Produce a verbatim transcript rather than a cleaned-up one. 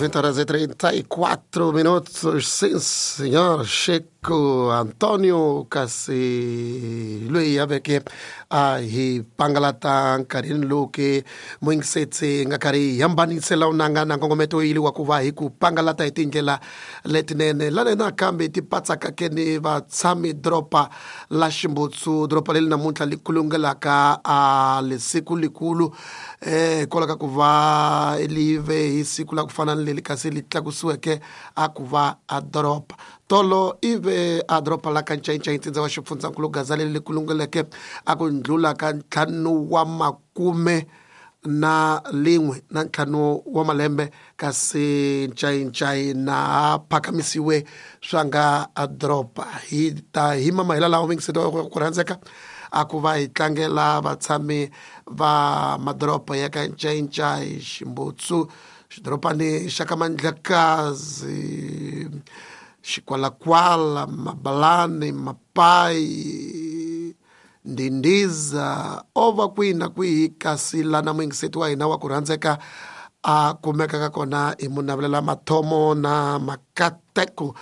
vinte horas e trinta e quatro minutos. Sim, senhor Chico Antonio kasi loyi a veke a hi pangalata nkarhini lowu ke muyingisetse nga karhi hi hambanisela unanga na nkongometo yili wa ku va hi ku pangalata hi tindlela letinene lane nakambe ti patsaka ke ni vatshami doroba la Ximbutsu, doroba leri namuntlha li kulungelaka a lesiku likulu eh hikwalaho ka ku va live hi siku la ku fana ni leri kasi li tlakusiweke a ku va a doroba tolo ive a doroba la ka Ncayincai ntsindza wa xifundzankulu Gaza leri li kulungeleke a ku ndlula ka ntlhanu wa makume na lin'we na ntlhanu wa malembe kasi Ncayincai na phakamisiwe swa nga a doroba hi ta hi mamahela lawa mingiseti wa ku rhandzeka a ku va hi tlangela vatshami va madoroba ya ka Ncayincai, Ximbutsu, xidorobani xa ka Mandlakazi, Xikwalakwala, Mabalani, Mapai, Ndindiza, o va kwihi na kwihi kasi lana muyingiseti wa hina wa ku rhandzeka a kumekaka kona hi munavelela mathomo na makateko.